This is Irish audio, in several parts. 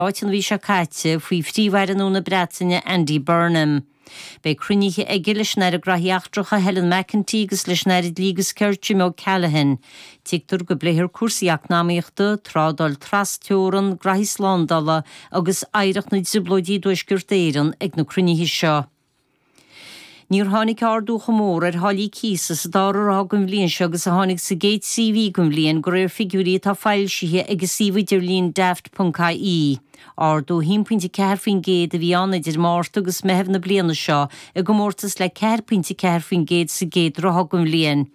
Stáit an mhí seo caite faoi Phríomh-Aire nua na Breataine Andy Burnham. Beidh cruinnithe aige leis an Aire Graithí Eachtracha Helen McEntee agus leis an Aire Dlí agus Cirt Jim O'Callaghan. Tuigtear go bpléifear cúrsaí eacnamaíochta, trádáil tras-teorann, graithí slándála agus oidhreacht na dTrioblóidí i dTuaisceart Éireann ag na cruinnithe seo. Níor tháinig ardú chomh mór ar tháillí cíosa sa dara ráithe den bhliain seo agus a tháinig sa gcéad 3 mhí den bhliain, de réir figiúirí atá foilsithe ag an suíomh idirlín Daft.ie. Ardú 1.4% a bhí ann idir Márta agus Meitheamh na bliana seo i gcomórtas le 4.4% sa gcéad ráithe den bhliain.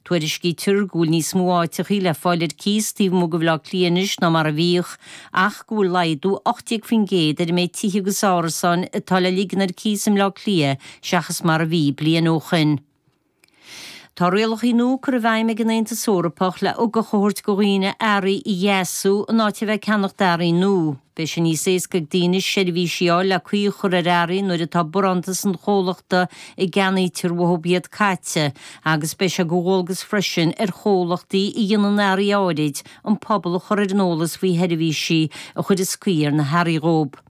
Tuairiscítear go bhfuil níos mó áiteachaí le fáil ar cíos taobh amuigh de Bhaile Átha Cliath anois ná mar a bhíodh, ach go bhfuil laghdú 18% ar an méid tithe agus árasáin atá le ligean ar cíos i mBleá Cliath seachas mar a bhí bliain ó shoin. Tá rialachaí nua curtha i bhfeidhm ag an Aontas Eorpach le ugach a thabhairt do dhaoine earraí a dheasú in áit a bheith ag ceannacht earraí nua. Beidh sé níos éasca ag daoine seirbhísí a fháil le caoi a chur ar earraí nuair atá barántas an chomhlachta a gceannaítear uathu iad caite agus beidh sé de dhualgas freisin ar chomhlachtaí a dhéanann earraí áirid an pobal a chur ar an eolas faoi sheirbhísí a chuireas caoi ar na hearraí dhóibh.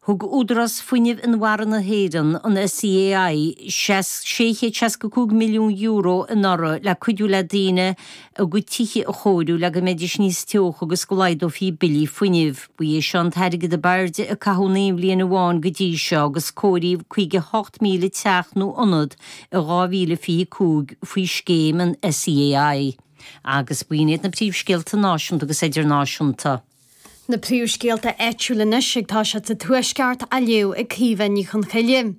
Thug Údarás Fuinnimh Inmhara na hÉireann, an SEAI, €665 milliún anuraidh le cuidiú le daoine a gcuid tithe a chóiriú le go mbeidís níos teocha agus go laghdófaí billí fuinnimh. Ba é seo an t-airgead ab airde a caitheadh in aon bhliain amháin go dtí seo agus cóiríodh 58,000 teach nó ionad i 2025 faoi scéim an SEAI. Agus b'in iad na príomhscéalta náisiúnta agus idirnáisiúnta. Na príomhscéalta áitiúla anois ag toiseacht sa Tuaisceart á léamh ag Caoimhe Ní Chonchoille.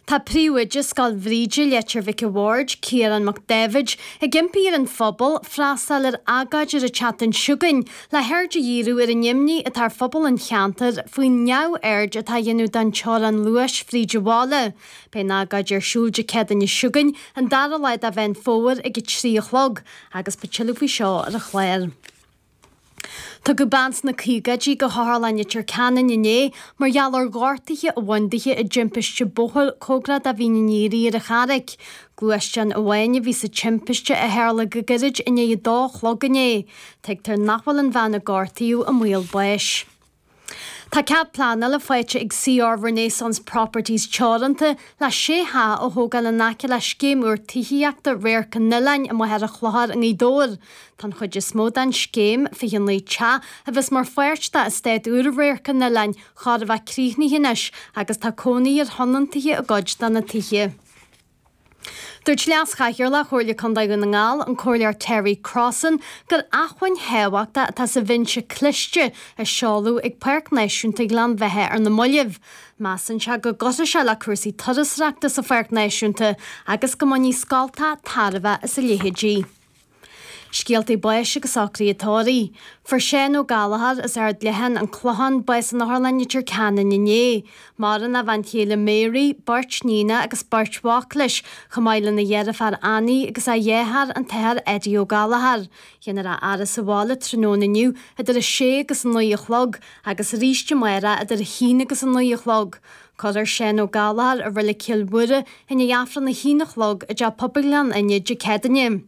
Tá príomhoide Scoil Bhríde, Leitir Mhic a' Bhaird, Ciarán Mac Dáibhid, ag impí ar an phobal freastal ar agóid ar an tseachtain seo chugainn le haird a dhíriú ar an imní atá ar phobal an cheantair faoin neamhaird atá á dhéanamh den teorainn luais fríd an bhaile. Beidh an agóid ar siúl Dé Céadaoine seo chugainn, an dara lá de Mheán Fómhair ag 3 a chlog, agus beidh tuilleadh faoi seo ar an chlár. Tugadh bean sna caogaidí go hOtharlann Leitir Ceanainn inné mar gheall ar ghortuithe a bhain dithe i dtimpiste bóthair cóngarach do Mhín an Iarthair ar an Charraic. Gluaisteán amháin a bhí sa timpiste a tharla go gairid i ndiaidh a dó a chlog inné. Tuigtear nach bhfuil an bhean a gortaíodh i mbaol báis. Tá cead pleanála faighte ag CR Renaissance Properties Teoranta le sé theach a thógáil in aice le scéim úr tithíochta Radharc an Oileáin i Machaire Chlochair i nGaoth Dobhair. Tá an chuid is mó den scéim, 29 teach, a bheas mar pháirt d'eastát úr Radharc an Oileáin, chóir a bheith críochnaithe anois agus tá cónaí ar thionóntaithe i gcuid de na tithe. Dúirt Leas-Chathaoirleach Chomhairle Contae Dhún na nGall, an Comhairleoir Terry Crossan, gur acmhainn thábhachtach atá sa bhinse cliste a seoladh ag Páirc Náisiúnta Ghleann Bheatha ar na mallaibh. Measann sé go gcuirfidh sé le cúrsaí turasóireachta sa Pháirc Náisiúnta agus go mbainfidh scoltacha tairbhe as a leithéidí. Scéaltaí báis agus socruithe tórraimh. Fuair Seán Ó Gallchóir as Ard Leatháin, An Clochán, bás in Otharlann Leitir Ceanainn inné. Maireann a bhean chéile Mary, beirt níonacha agus beirt mhac leis, chomh maith lena dheirfiúr Annie agus a dheartháir an tAthair Eddie Ó Gallchóir. Déanfar a fhaire sa bhaile tráthnóna inniu idir a sé agus a 9 a chlog agus arís amárach idir a haon agus a 9 a chlog. Cuirfear Seán Ó Gallchóir i Reilig Chill Mhuire i ndiaidh Aifreann a haon a chlog i dTeach Pobail Ghleann Fhinne Dé Céadaoine.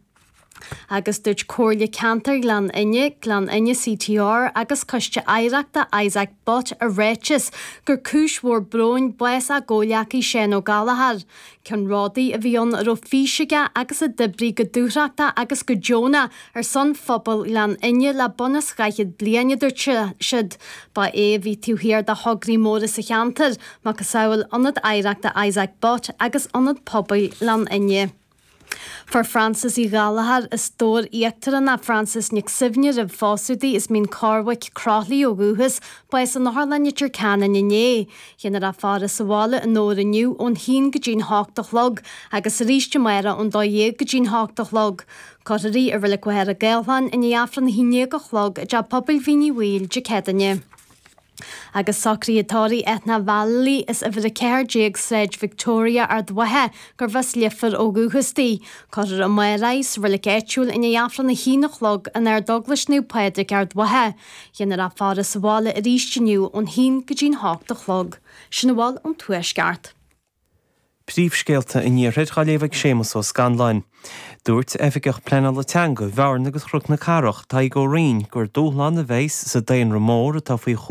Agus dúirt Comhairle Ceantair Ghleann Fhinne, Gleann Fhinne CTR agus Coiste Oidhreachta Isaac Butt i ráiteas gur cúis mhór bróin bás a gcomhghleacaí Seán Ó Gallchóir. Ceannródaí a bhí ann a raibh fís aige agus a d'oibrigh go dúthrachtach agus go deonach ar son phobal Ghleann Fhinne le bun is dhaichead bliain, a dúirt siad. Ba é a bhí taobh thiar de thograí móra sa cheantar, macasamhail Ionad Oidhreachta Isaac Butt agus Ionad Pobail Ghleann Fhinne. Fuair Frances Uí Ghallchóir as Dobhar Íochtarach ná Frances Nic Suibhne roimh phósadh di as Mín Corrbhaic, Croithlí ó dhúchas, bás in Otharlann Leitir Ceanainn inné. Déanfar a faire sa bhaile i nDobhar inniu ón haon go dtí'n hocht a chlog agus arís amárach ón dó dhéag go dtí'n hocht a chlog. Cuirfear í i Reilig Mhachaire Gathlán i ndiaidh Aifreann a haon déag a chlog i dTeach Pobail Mhín Uí Bhaoill Dé Céadaoine. Agus socruithe tórraimh Ethna Vallely as uimhir 14 Sráid Victoria, Ard Mhacha, gurbh as Leifear ó dhúchas di. Cuirfear amárach í sa reilig áitiúil i ndiaidh Aifreann a haon a chlog in Ardeaglais Naomh Pádraig, Ard Mhacha. Déanfar a faire sa bhaile arís inniu ón haon go dtí'n hocht a chlog. Sin a bhfuil ón Tuaisceart. Príomhscéalta an Iarthair á léamh ag Séamus Ó Scanláin. Dúirt Oifigeach Pleanála Teanga Bhearna agus Chnoc na Cathrach, Tadhg Ó Rinn, gur dúshlán a bheas sa daonra mór atá faoi chúram.